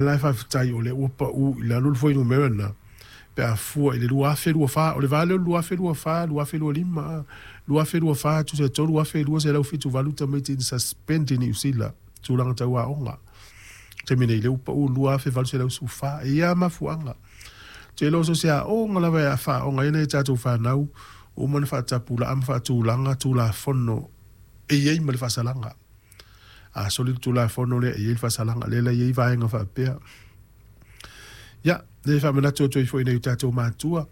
La e faafetai o lea ua pau i lalo le fuainumera lena pe a fua i le 2024. O le va lea o le 2024, 2025, 2024 e tusa e 3,278 tamaiti na suspend i Niu Sila i tulaga tau aoga. O le taimi nei, lea ua pau i le 2,814. E i ai lava mafuaaga. Ou te iloa so o se aoga lava e faaaoga ai nai a tatou fanau, ua uma ona faatapulaa ma faatulaga Tulafono e i ai ma le faasalaga. A soli le Tulafono lea e i ai le faasalaga, lea la e i ai vaega faapea. Ia, e faamanatu atu ai foi i nai o tatou matua,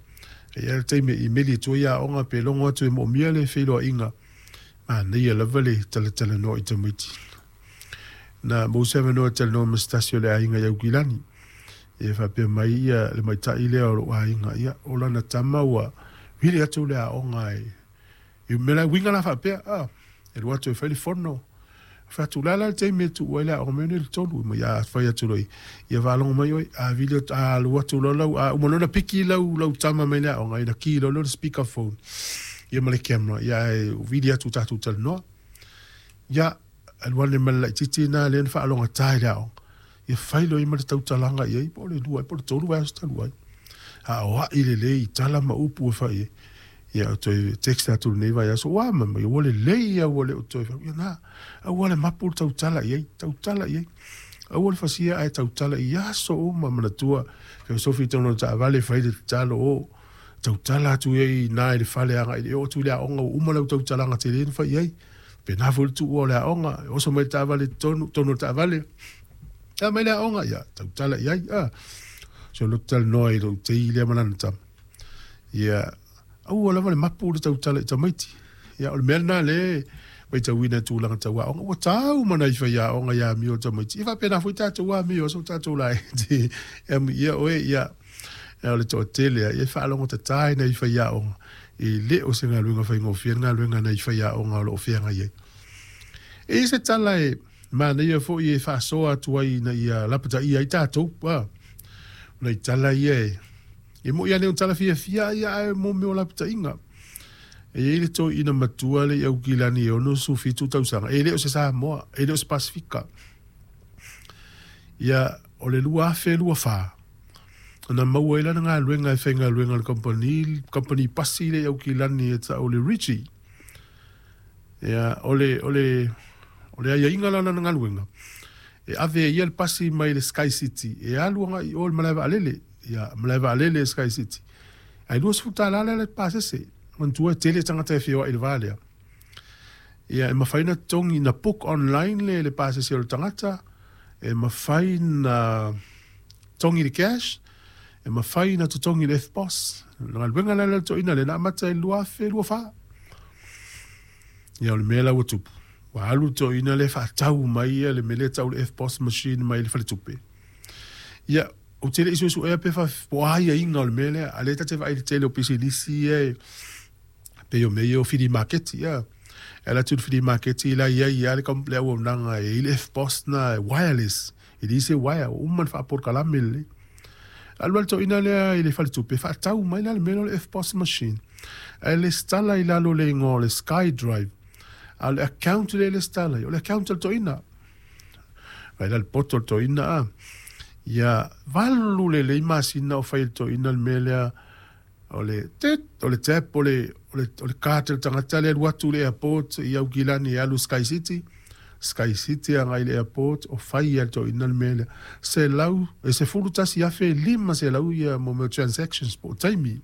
e i ai lava le taimi e imeli atu ai aoga pe logo atu e moomia le feiloaiga, manaia lava le talatalanoa i tamaiti. Na maua se avanoa e talanoa ma se tasi o le aiga i Aukilani, ia faapea mai ia le maita'i lea o lou aiga, ia o lana tama ua vili atu le aoga e I mea la, uiga la faapea, a, e alu atu e fai le fono. Fai atu, o le a la le taimi e tuu ai le aoga mai nei le 3? Mai a fai atu loa ia faalogo mai oe, a vili atu, a alu atu loa lau, a uma loa ona piki lau, lau tama mai le aoga, ia ona ki loa lea o le speaker phone, ia ma le camera, ia ae vili atu tatou talanoa. Ia, alu ane ma le laitiiti lena lea na faalogata i le aoga, ia fai loa ma le tautalaga i ai, po o le 2 po o le 3 vaiaso talu ai. Aoai lelei i tala ma upu e fai ai. Ia ou toe text atu lenei vaiaso, ua ma mai, ua lelei ia ua le o toe fai. Ia na, aua le mapu le tautala i ai, tautala i ai. Aua le fasia ae tautala i aso uma manatua. Ke sofi tonu o le taavale fai le tatalo o tautala atu i ai i ina i le fale agai le oo atu i le aoga ua uma lau tautalaga tele na fai i ai. Pena foi le tuua o le aoga, e oso mai le taavale i totonu, totonu o le taavale. A mai le aoga, ia, tautala i ai. A, so loto talanoa i lou tei lea ma lana tama. Ia, aua lava le mapu le tautala i tamaiti. Ia, o le mea lena le matauina i tulaga tau aoga. Ua tau ma nai faiaoga i amio o tamaiti. Ia faapena foi tatou amio a so tatou laiti. E amuia oe, ia, o le toatele ia, e faalogo tata i nai faiaoga. E le o se galuega faigofie le galuega a nai faiaoga o lo o feagai ai. E i ai se tala e manaia foi e faasoa atu ai ina ia lapataia ai tatou. O nai tala ia e, e moi lava nei o tala fiafia ia ae mo mea o lapataiga. E i ai le toeaina matua le i Aukilani e 67 tausaga, e le o se Samoa, e le o se Pasefika. Ia, o le 2024, na maua ai lana galuega e faigaluega i le kamupani, kamupani pasi lea i Aukilani e tau o le Ritchie. Ia, o le, o le, o le aiaiga la o lana galuega, e ave e ia le pasi mai le Sky City e alu agai i o i le malae vaalele. Ia, malae vaalele e Sky City. Ae $20 lea le pasese. Manatua e tele tagata e feoai i le va lea. Ia, e mafai ona totogi, na book online le, le pasese o le tagata, e mafai na totogi i le cash, e mafai ona totogi i le EFTPOS. O le galuega la lea a le toeaina lea na amata i le 2024. Ia, o le mea la ua tupu, ua alu le toeaina lea faatau mai ia le mea lea e tau o le EFTPOS machine mai le faletupe. Ia, ou te le i suesuea pe po o a aiaiga o le mea lea, a o lea ta te vaai i le tele o pisinisi ia e pei o mea ia o filimaketi, ia. E ala atu i le filimaketi la e i ai lava le auaunaga e i ai le EFTPOS lena e wireless. E leai se uaea, ua uma ona faapolokalame lelei. Alu la le toeaina lea i le faletupe, faatau mai la le mea lea o le EFTPOS machine, ae lesitala i lalo o le igoa o le SkyDrive. A o le account lea e lesitala ai, o le account a le toeaina. Vaai la le poto o le toeaina a. Ia, 8 lelei masina o fai e le toeaina le mea lea o le tit, o le tap, o le, o le, o le card a le tagata lea alu atu i le airport i Aukilani e alu i Sky City, Sky City agai i le airport, o fai e le toeaina le mea lea. Selau, e 11,500 ia mo mea o transactions po o taimi.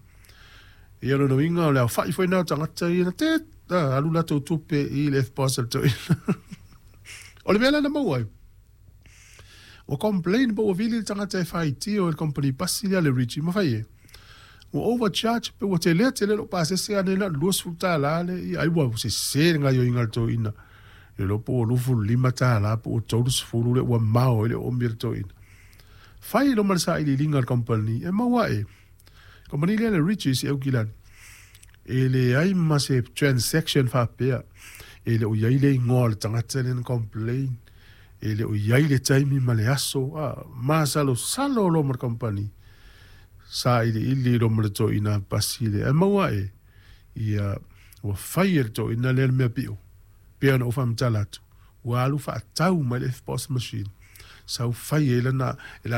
Ia lona uiga o le aofai foi lena o tagata ia na tit, a, alu latou tupe i le EFTPOS a le toeaina. O le mea la na maua ai, Ua complain po ua vili le tagata e faitio i le company pasi lea a le Ritchie ma fai e ua overcharge pe ua telea tele lou pasese ane na o le $20 le ia ai ua sese le gaioiga a le toeaina le iloa po ua $25 po ua 30 le ua mao ai le oomi a le toeaina. Fai loa ma le sailiiliga a le company e maua ae company lea le Ritchie i Aukilani e leai ma se transaction faapea e le o i ai le igoa o le tagata lea na complain E le o i ai le taimi ma le aso, a masalosalo loa ma le kamupani, sailiili loa ma le toeaina pasi lea, ae maua ae, ia, ua fai e le toeaina lea le mea pio, pei ona ou faamatala atu, ua alu faatau mai le EFTPOS machine, sau fai ai lana, e